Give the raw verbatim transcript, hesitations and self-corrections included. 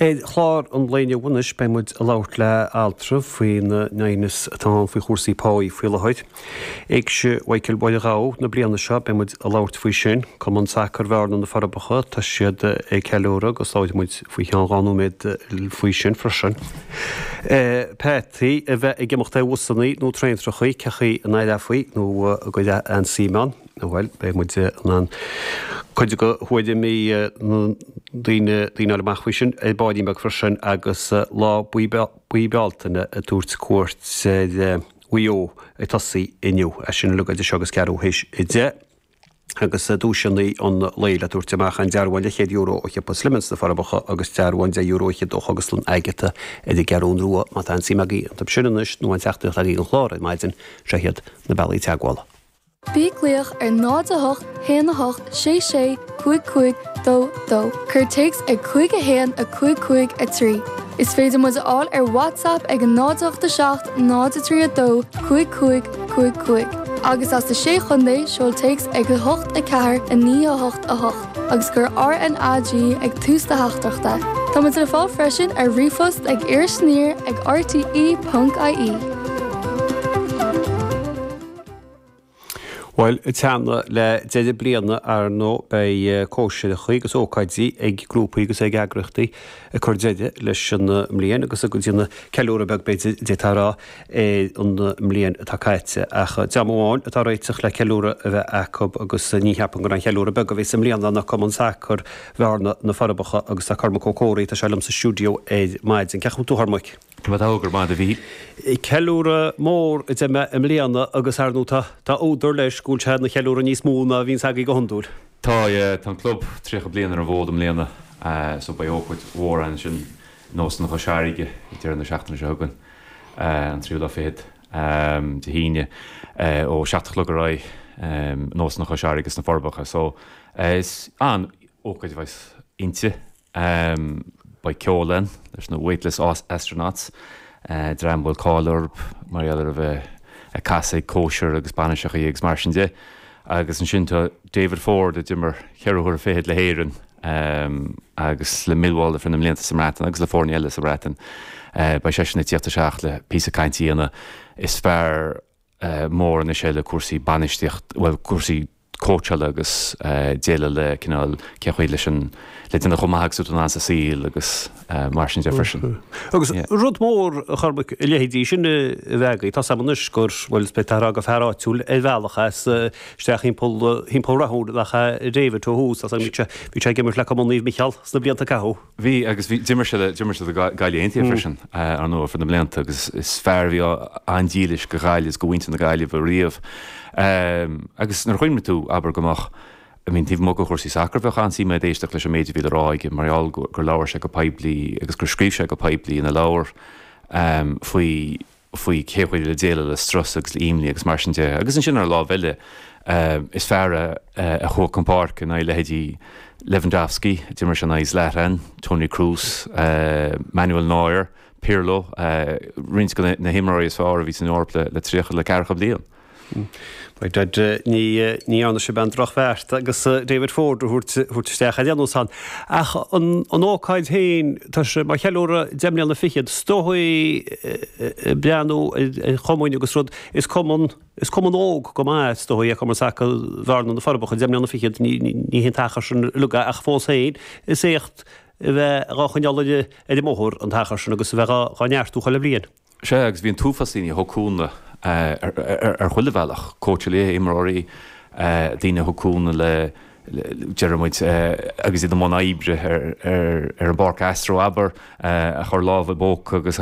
Ar chlár an lae inniu anois beidh muid ag labhairt le altra faoin aighneas atá ann faoi chúrsaí páí faoi láthair. Éigse Mhichael Mháire Ghabha na bliana seo beidh muid ag labhairt faoi sin. Cumann Sacair Bhearna na Forbacha tá siad ag ceiliúradh agus labhróidh muid faoi cheann dhá nóiméad faoi sin freisin. Peataí a bheith ag imeacht ar bhusanna nó traentrachaí cén chaoi a n-aireofaí nó a gcuirfeá an-suim ann. Bhuel, beidh muid in ann cuid de thuairimí na daoine daoine amach faoi sin ar baillín beag freisin agus lá buí buí Bealtaine ag tabhairt cuairt ar Mhaigh Eo ag tosaí inniu. É sin uilig idir seo agus ceathrú théis a deich. agus duaiseanna an lae le tabhairt amach an dearbhán leathchéad euro ó shiopa Slimmins na Forbacha agus dearbhán deich euro fhichead ó Chógaslann Agatha ar an gCeathrú Rua má tá an suim agaibh iontu sin anois nó an teachtaireacht agaibh an chlár ar maidin seo iad na bealaí teagmhála. Bí ag glaoch ar náid a hocht haon a hocht sé sé cúig cúig dó dó. Cuir téacs ag cúig a haon a cúig cúig a trí. Is féidir muid a fháil ar WhatsApp ag an náid ocht a seacht náid a trí a dó cúig cúig cúig cúig. Agus as na sé chontae seol téacs ag a hocht a ceathair a naoi a hocht a hocht, agus cuir RNAG ag tús do theachtaireachta. Tá muid le fáil freisin ar ríomhphost ag Iris Aniar ag RTE.ie. Bhuel, teannadh le deireadh bliana ar ndóigh beidh cóisireacha agus ócáidí ag grúpaí agus ag eagraíochtaí ag cur deireadh leis an mbliain agus ag déanamh ceiliúradh beag b'fhéidir d'fhéadfá a rá ar an mbliain atá caite. Ach dream amháin atá réiteach le ceiliúradh a bheith acu agus ní cheapaim gur aon cheiliúradh beag a bheas i mbliana ná Cumann Sacair Bhearna na Forbacha agus tá Cormac Ó Comhraí tá sé liom sa stiúideo ar maidin. Cén chaoi a bhfuil tú a Chormaic? Tá go maith a Mhíchíl. Ceiliúradh mór a deir mé i mbliana agus ar ndóigh tá tá údar leis go bhfuil sé ina cheiliúradh níos mó ná a bhíonns agaibh go hiondúil. Tá tá an club tríocha bliain ar an bhfód i mbliana so beidh ócáid mhór ansin in Óstán Chois Fharraige ag deireadh na seachtaine seo chugainn an tríú lá fichead Dé hAoine ó seacht a chlog ar aghaidh in Óstán Chois Fharraige sna Forbacha. So is an-ócáid a bheas inti. Beidh ceol ann leis na Weightless Astronauts, dream a bhfuil cáil orthu mar gheall ar a bheith ag casadh ag cóisir agus bainiseachaí agus mar sin de. Agus ansin tá David Ford a d'imir ceithre huaire fichead le hÉirinn agus le Millwall ar feadh na mblianta sa mBreatain agus le foirne eile sa Bhreatain. Beidh seisean ag tíocht isteach le píosa cainte a dhéanamh. Is fear mór anois é le cúrsaí bainistíocht, bhuel cúrsaí cóitseála agus déileáil le cineál cén chaoi leis an le déanamh chomh maith agus atá tú in ann sa saol agus mar sin de freisin. Agus rud mór a Chormaic a leithéidí sin a bheith agaibh, tá 's agam anois gur bhuel is b'fhéidir gur fear áitiúil ar bhealach as isteach thimpeall thimpeall Rathúin nach ea David ó thús, tá 's agam bhí sé bhí sé ag imirt le Cumann Naomh Micheál sna blianta a caitheadh. Bhí agus bhí d'imir sé le d'imir sé do Gaillimh Aontaithe freisin ar ndóigh ar feadh na mblianta agus is fear a bhí an-dílis go Ghaillimh is go mhuintir na Gaillimhe riamh. Agus nuair a chuimhníonn tú, abair, go mbeadh, I mean, taobh amuigh de chúrsaí sacair, bheadh an-suim a'd éisteacht leis an méid a bhí le rá aige mar gheall gur labhair sé go poiblí agus gur scríobh sé go poiblí ina leabhar faoi faoi cé chaoi le déileáil le strus agus le imní agus mar sin de. Agus ansin ar an lámh eile, is fear é a chuaigh chun páirce in aghaidh leithéidí Lewandowski, d'imir sé in aghaidh Zlatan, Toni Kroos, Manuel Neuer, Pirlo, roinnt de na himreoirí is fearr a bhí san Eoraip le tríocha le ceathracha bliain. By dad, ní ní dhearna sibh aon drochbheart agus David Ford a thabhairt isteach ar aon nós ann. Ach an an ócáid féin, tá sé mar cheiliúradh deich mbliana fichead, is dóigh breathnú ar chumainn agus rud, is cumann is cumann óg go maith is dóigh é Cumann Sacair Bhearna na Forbacha, deich mbliana fichead, ní ní hé an t-achar sin uilig é ach fós féin is éacht a bheith dhá choinneáil ar ar an mbóthar an t-achar sin agus a bheith dhá dhá neartú chuile bhliain. Sea, agus bhí an t-uafás daoine a thug cúnamh ar chuile bhealach, cóitseálaithe, imreoirí, daoine a thug cúnamh le, deir muid, agus iad i mbun oibre ar an bpáirc Astro, abair, a chuir lámh i bpóca agus a